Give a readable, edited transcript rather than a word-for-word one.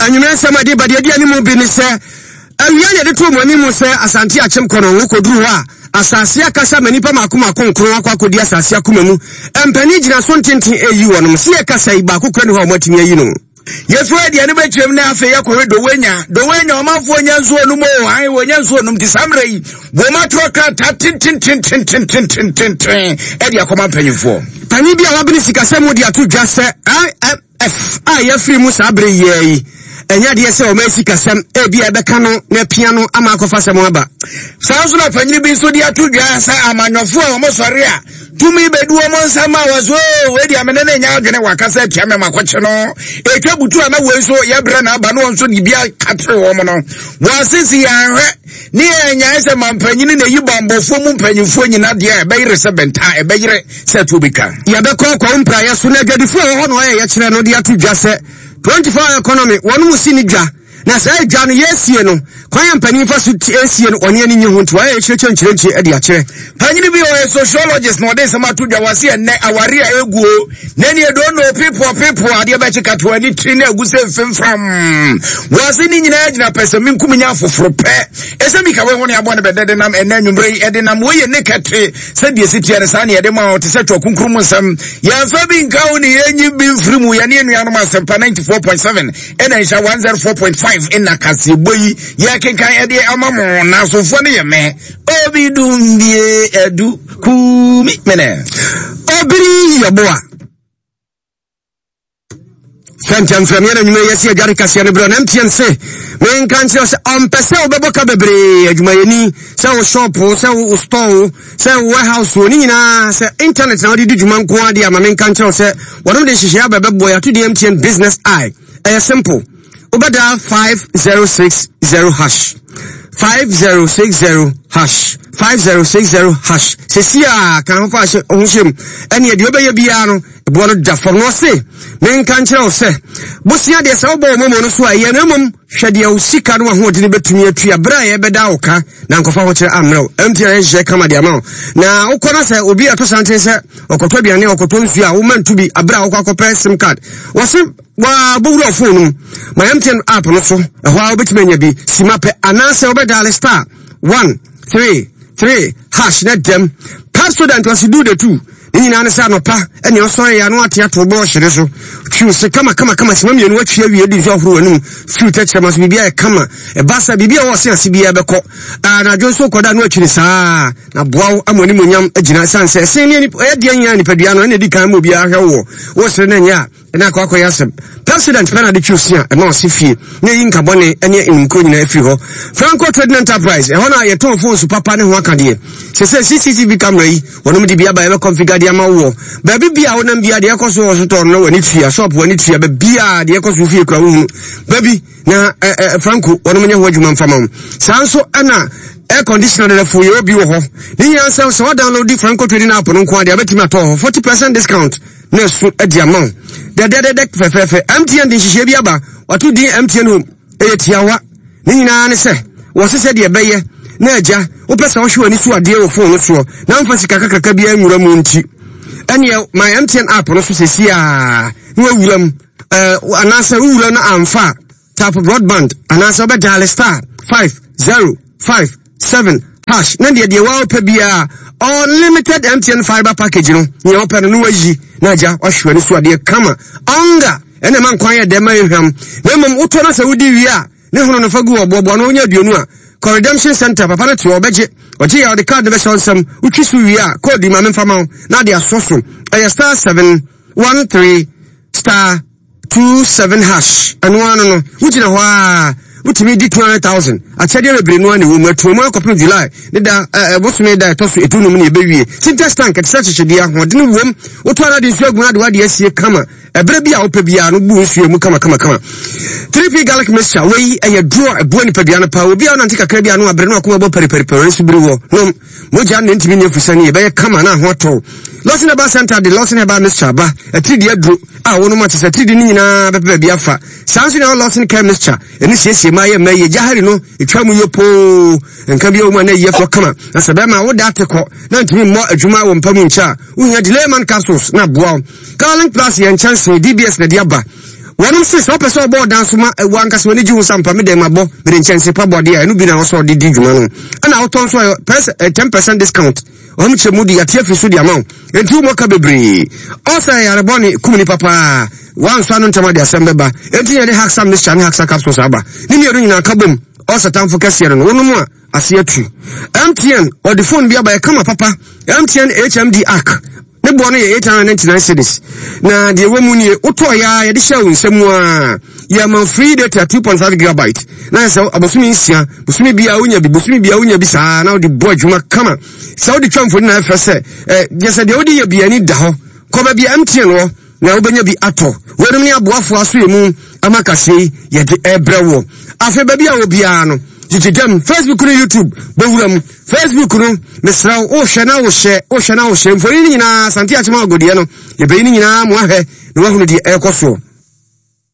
Anwummerɛ nsɛm a ɛde ba deɛ ɛdi anim bi ne sɛ, awia na yɛde too mo anim sɛ Asante Akyem Kɔnɔngo kɔduru hɔ a, asase akasa ma nnipa mmaako mmaako nkron akɔ akɔdi asase akoma mu. Mpanin gyina so ntenten reyi wɔnom. Se yɛkasa yi, baako kora ni hɔ a wɔatumi ayi no. Yɛfiri aduane bɛkyerɛm na afei yɛkɔhwɛ Dowenya. Dowenya ɔmanfoɔ nya nsuo nom o, ae wɔnya nsuo nom nti saa mmerɛ yi wɔn atwerɛ krataa tententententententen ɛde akɔma mpanyinfoɔ. Panyin bi a wabene sikasɛm mu de ato dwa sɛ IMF a yɛafiri mu saa bere yi ara yi, ɛnyɛ adeɛ sɛ wɔn sikasɛm ebi a ɛbɛka no na apia no ama akɔfa asɛm aba. Saa nso na panyin bi nso de ato dwa sɛ amanyɔfoɔ a wɔsɔre a tumi bɛdu wɔn nsam a wɔso oo wei deɛ mene ne nyɛ adwene wakasa atia me makɔkye no ɛtwa butu a na wei nso yɛbrɛ na aba no wɔn nso de bi akatere wɔn no wɔasisi yɛanhwɛ ne yɛnyae sɛ mampanyini na ɛyi bambɔfoɔ mu mpanyimfoɔ nyina deɛ a ɛbɛyere sɛ bɛnta ɛbɛyere sɛ tuo bɛtwa. Yɛbɛkɔ kwawu mpraeɛ so na adwadifoɔ a ɛwɔ hɔ na wɔayɛ yɛkyerɛ no de ato dwa sɛ 24 hour economy wɔn mu si ne dwa. Na saa adwa no yɛresie no, kwan a mpanin fa so sie no, ɔne ani nye ho nti wɔayɛ kyerɛkyerɛ nkyerɛnkyerɛ de akyerɛ. Panyin bi ɔyɛ sociologist na ɔde nsɛm ato dwa wɔ se ɛnnɛ aware a eguo na ɛne ɛdɔ no people people adeɛ bɛkye kato ani tiri na egu sɛ mfimfam wɔ se ne nyinaa gyina pɛ sɛ menkum nya afoforo pɛ ɛsɛ mi ka wei ho ne abɔ ne bɛdɛ de nam ɛnɛ anwummerɛ yi ɛde nam wei yɛ ne kɛte sɛdeɛ ɛsi teɛ no saa ne yɛde ma wo te sɛ twɛ kunkun mu nsɛm yɛmfa bi nka wo ne yɛnyi bi mfiri mu yɛne anuanom asɛmpa 94.7 ɛna nhyɛ 104.5 ɛna kaseɛbɔ yi yɛkenkan ɛdeɛ ama mo na asomfoɔ no yɛ mɛ obi dumbie adu kumi mene obiri yɛboa fɛntɛmfrɛm yɛn anwummerɛ yɛsi adware kaseɛ no berɛ na mtn se menka nkyerɛ sɛ ɔmpɛ sɛ wobɛbɔ ka bebree adwumayɛni sɛ wo shop sɛ wo store sɛ wo warehouse o ne nyinaa sɛ internet na wode di dwuma nko adeɛ ama menka nkyerɛ wo sɛ wɔnom de nhyehyɛeɛ aba bɛboa yɛato din mtn business eye ɛyɛ simple wobɛda 5060 hash 5060 hash 5060 hash sɛsi a ka ho fa ho hyɛ mu ɛneɛ deɛ wobɛyɛ biara no ɛboɔ no da fam na ɔse menka nkyerɛ wo sɛ bosea deɛ sɛ wobɔ wo mɔmɔ no so a ɛyɛ no mmom hwɛ deɛ wo sika no ahoɔden bɛtumi atua berɛ a yɛbɛda wo ka na nkɔfa ho kyerɛ ammerɛ wo ɛmti a yɛhyehyɛ kama de ama wo na wokɔ no sɛ obi ato santen sɛ ɔkɔtɔ aduane ɔkɔtɔ nsuo a woma nto bi aberɛ a wokɔ akɔpɛ sim card wɔse wɔabɔwura ɔfon no mu ma MTN app no so ɛhɔ a wobɛtumi anya bi sima pɛ anaasɛ wobɛdaale star 1 3 3 hash na dɛm Pepsodent wɔse do the two ne nyinaa ne sɛ anɔpa ɛne ɔsɔre yɛ ano ate ato bɔɔhye no so twiw se kama kama kama sima mmienu atwi awie di nso ahoro w'anum firiw tɛkyerɛma so biribi ayɛ kama ɛba sɛ biribi a ɛwɔ ɔse ase biara bɛkɔ anadwo nso kɔda no akyiri saa na boa wo ama animuonyam agyina ɛsiane sɛ ɛsen ne ɛyɛ deɛ nyinaa nipadua no ɛna ɛdi kan ma obiara hwɛ woɔ wosere no ɛnyɛ a ɛna akɔ akɔyɛ asɛm president pɛ na de twi osi a ɛma ɔse fie na ɛyi nka bɔne ne enumkuo nyinaa afiri hɔ Franco Trading Enterprise ɛhɔ na yɛtɔn phones papa ne ho aka deɛ sɛ sɛ CCTV camera yi wɔnom de bi aba yɛbɛ configure de ama woɔ baabi bia wonam bia deɛ ɛkɔ so wɔ so tɔn no w'ani tua shop w'ani tua baabi a deɛ ɛkɔ so fie kura wohunu baabi na ɛ ɛ Franco wɔnom nyɛ ho adwuma mfa ma wo saa nso ɛna air conditioner dɛdɛfo yɛ obi wɔ hɔ ne nyinaa sɛ sɛ wɔdownload Franco Trading app no nko adeɛ abɛtumi atɔ hɔ 40% discount na ɛso adi ama wo dɛdɛdɛdɛ fɛfɛɛfɛ mtn de nhyehyɛe bi aba wato din mtn home ɛyɛ tiawa ne nyinaa ne sɛ wɔse sɛ deɛ ɛbɛyɛ na agya wopɛ sɛ wohwɛ w'ani so adeɛ wɔ fon no soɔ na mfa sika kakraka biara nwura mu nti ɛneɛ my mtn app no so sɛsi a na wawura mu anaasɛ wowura no amfa a Tap broadband anaasɛ wobɛ dial star 5 0 5 7 hash na deɛ deɛ wopɛ biara unlimited MTN fiber package no nea wopɛ no na wayi na agya wahwɛ no so adeɛ kama ɔnga ɛna ɛma nkwan yɛ dɛ ma ehwam na mmom wotɔ no sɛ wodi wie a ne hono no fa gu hɔ boaboa no wonya aduonu a kɔ redemption center papa no te hɔ ɔbɛgye ɔgye yɛ ɔde card no bɛhyɛ wo nsam wotwi so wie a code ma memfa ma wo na ade asɔ so ɛyɛ star 7 1 3 star 27 hash ɛno ano no wogyina hɔ a wotumi di 200,000 akyɛdeɛ bebree no a na ɛwɔ mu atuo mu akɔpem July ne da ɛbosome da ɛtɔ so ɛdunum ne ɛbɛwie sintex tank ɛte sɛ kyekyedeɛ ahoɔdene wom wotɔ ara de nsuo agu no ade wade asie kama ɛberɛ bi a wopɛ biara no bu nsuo mu kama kama kama 3P garlic mixture wei ɛyɛ duro a ɛboa nipadua no paa obi a wonante kakra bi ano abrɛ no akoma bɔ pɛripɛripɛrɛ nso biri wɔ nom Mogya no ntumi nyɛ fusani, ɛbɛyɛ kama na ho atɔ. Lawson Herbal Center de Lawson Herbal Mixture aba, atiridi aduro a wɔnom akyɛ sɛ atiridi no nyinaa bɛpɛ baabi afa. Saa nso na ɛwɔ Lawson Care Mixture, ɛno siesie mmaa yɛ mmaa yie, gyahari no ɛtwa mu yɛ poo, nka bi wɔ mu a na ɛyi afɔ kama. Na sɛ bɛrima woda ate kɔ na ntumi mmɔ adwuma wɔ mpa mu nkyɛ a, wohia Delayman capsules na aboa wo. Carlink Plus yɛ nkyɛnsee, DBS na ɛde aba. Wɔnom se sɛ wopɛ sɛ ɔbɔ ɔdan so ma wo ankasa w'ani gye ho sɛ ampa me dɛn mabɔ mede nkyɛnse pa bɔ adeɛ a ɛno bi na ɛwɔ sɛ ɔde di dwuma no ɛna wotɔ nso a 10% discount wɔn kyerɛ mu de yɛate afiri so de ama wo enti womɔ ka bebree ɔsɛ yare bɔne kum nipa paa wansɔ ano ntɛm ade asɛm bɛba enti yɛde haxa mixture ne haxa capsules aba ne mmienu nyinaa ka bom ɔsɛ tamfo kɛseɛ no no wonom a ase atu MTN ɔde phone bi aba ɛkama papa MTN HMD arc Ne boɔ no yɛ 899 cedis. Na deɛ ɛwɔ mu nie, wotɔɔ yɛ a yɛde hyɛɛ wo nsa mu a, yɛma free data 2.5 gigabyte. Na yɛ sɛ abosome nsia, bosome biara wonya bi, bosome biara wonya bi saa na wode bɔ adwuma kama. Sɛ wode twa mfoni na ɛfɛ sɛ, eh, deɛ sɛ deɛ wode yɛ bi ani da hɔ. Kɔ baabi a MTN wɔ na wobɛnya bi atɔ. Weinom ne aboafoɔ aso yɛ mu ama kaseɛ yi yɛde ɛbrɛ woɔ. Afei baabi a wɔ biara no, gyegye dam, Facebook ne YouTube, bɛwura mu. Facebook no, mesrɛ wo, wohwɛ na wohyɛ, wohwɛ na wohyɛ. Mfoni no nyinaa, Asante Akyem Agodeɛ no, yɛbɛyi no nyinaa mo ahwɛ na woahunu deɛ ɛrekɔ soɔ.